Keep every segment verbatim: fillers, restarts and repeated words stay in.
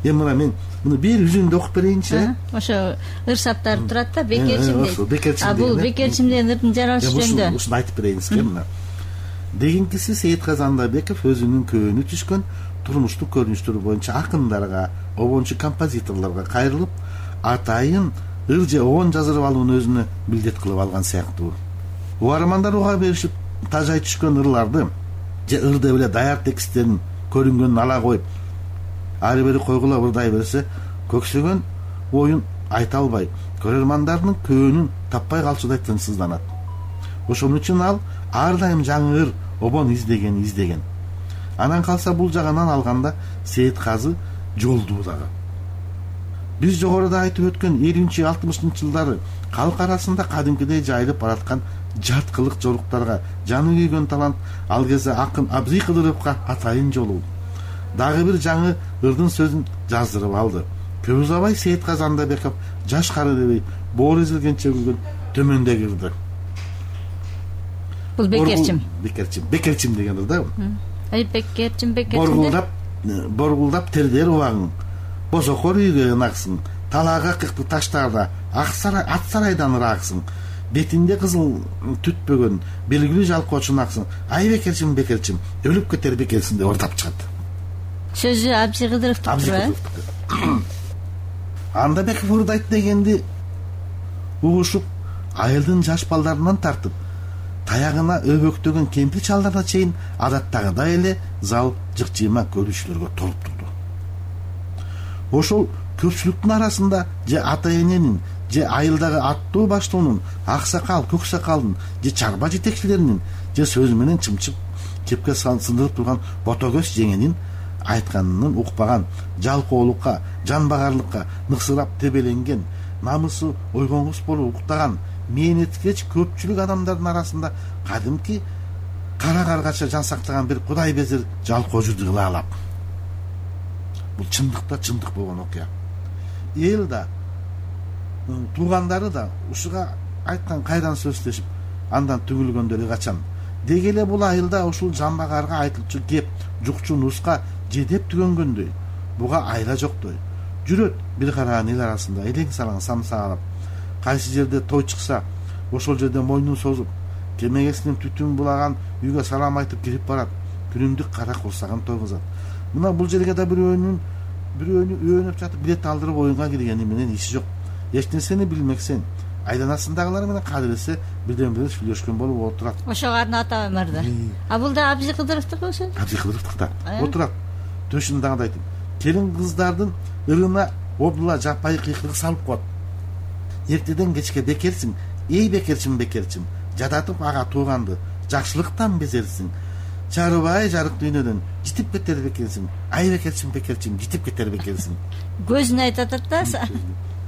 эми мына мен муну бир үзүндү окуп берейинчи. э ошо ыр саптар турат да, бекерчим дейт. А бул бекерчим деген ырдын жаралышы жөнүндө ушуну айтып берейин сизге. Мына дегенкиси Сейитказы Андайбеков өзүнүн көөнү түшкөн турмуштук көрүнүштөрү боюнча акындарга, обончу композиторлорго кайрылып, атайын ыр же обон жаздырып алууну өзүнө милдет кылып алган сыяктуу. Угармандар уга беришип, тажай түшкөн ырларды же ыр деп эле даяр тексттерин көрүнгөнүн ала коюп, ары бери койгулап ырдай берсе, көксөгөн оюн айта албай, көрөрмандардын көөнүн таппай калчудай тынчсызданат. Ошон үчүн ал ар дайым жаңы ыр, обон издеген издеген. Анан калса бул жагынан алганда Сейитказы жолдуу дагы. Биз жогоруда айтып өткөн элүүнчү алтымышынчы жылдары калк арасында кадимкидей жайылып бараткан жарткылык жоруктарга жаны күйгөн талант ал кезде акын Абзый Кыдыровго атайын жолугу. Дагы бир жаңы ырдын сөзүн жаздырып алды. Көп узабай Сейитказы Андайбеков жаш кары дебей боор эзилгенче күлгөн төмөндөгү ырды. Бул бекерчим. Бекерчим, бекерчим деген ыр да. Ай бекерчим, бекерчим. Боргулдап, боргулдап тердер убагың. Босокор үйгө ынаксың. Талаага кыкты таштарда аксарай ат сарайдан ыраксың. Бетинде кызыл түтпөгөн белгилүү жалкоочунаксың. Ай бекерчим, бекерчим, өлүп кетер бекерсиң деп ордап чыгат. Сөзү Абзый Кыдыровдуктур э? Андайбеков ырдайт дегенди угушуп, айылдын жаш балдарынан тартып, таягына өбөктөгөн кемпир чалдарына чейин адаттагыдай эле зал жыкчыйма көрүүчүлөргө толуп турду. Ошол көпчүлүктүн арасында же ата эненин, же айылдагы аттуу баштоонун, аксакал, көксакалдын, же чарба жетекчилеринин, же сөз менен чымчып кепке сындырып турган ботокөз жеңенин айтканын укпаган, жалкоолукка, жанбагарлыкка ныксырап тебеленген, намысы ойгоңгус болуп уктаган, мээнеткеч көпчүлүк адамдардын арасында кадимки кара каргача жан сактаган бир кудай безир жалкоожу дыйлаалап. Бул чындыкта чындык болгон окуя. Эл да, туугандары да ушуга айткан кайдан сөзлөшүп, андан түгүлгөндөрү качан. Деги эле бул айылда ушул жамбагарга айтылчу кеп, жукчу нуска жедеп түгөнгөндөй, буга айла жоктой. Жүрөт бир кара эл арасында элең салаң самсаалап. Кайсы жерде той чыкса, ошол жерде мойнун созуп, кемегесинен түтүн булаган үйгө салам айтып кирип барат. Күнүмдүк кара курсаган тойгузат. Мына бул жерге да бирөөнүн бирөөнү өөнөп жатып билет алдырып оюнга киргени менен иши жок. Эч нерсени билмексен, айланасындагылар менен кадыресе бирден бири сүйлөшкөн болуп отурат. Ошого арнатып эмерди. А бул да Абзый Кыдыровдук ошо? Абзый Кыдыровдукта. Отурат. Төшүндагы айтып, келин кыздардын ырына обдула жапайы кыйкырык салып коет. Эртеден кечке бекерсиң, эй бекерчим, бекерчим, жадатып ага тууганды, жакшылыктан безерсиң. Чарыбай жарык дүйнөдөн житип кетер бекерсиң. Ай бекерчим, бекерчим, житип кетер бекерсиң. Көзүн айтат да.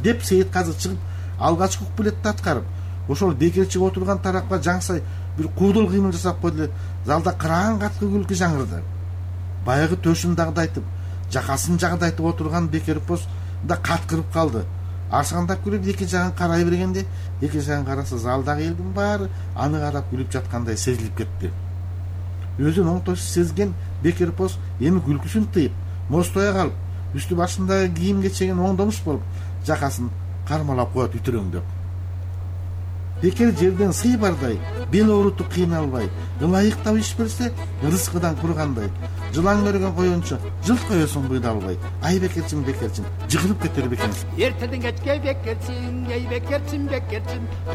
Деп Сейитказы чыгып, алгачкы куплетти аткарып, ошол бекерчип отурган тарапка жаңсай бир куудул кыймыл жасап койду. Залда кыраан каткы күлкү жаңырды. Баягы төшүндагыды айтып, жакасын жагдайтып отурган бекерпоз да каткырып калды. Арсаңдап күлүп эки жагын карай бергенде, эки жагын караса залдагы элдин баары аны карап күлүп жаткандай сезилип кетти. Өзүн оңтойсуз сезген бекерпоз эми күлкүсүн тыйып, мостоя калып, үстү башындагы кийим кечегин оңдомуш болуп, жакасын кармалап коет үтүрөңдөп. Бекер жерден сый бардай, бел оорутуп кыйналбай, ылайыктап иш берсе, рызкыдан кургандай. Жылан көргөн коюнчу жылт коесуң быйдалбай. Ай бекерчим, бекерчим, жыгылып кетер бекерсиң. Эртеден кечке бекерчим, эй бекерчим, бекерчим.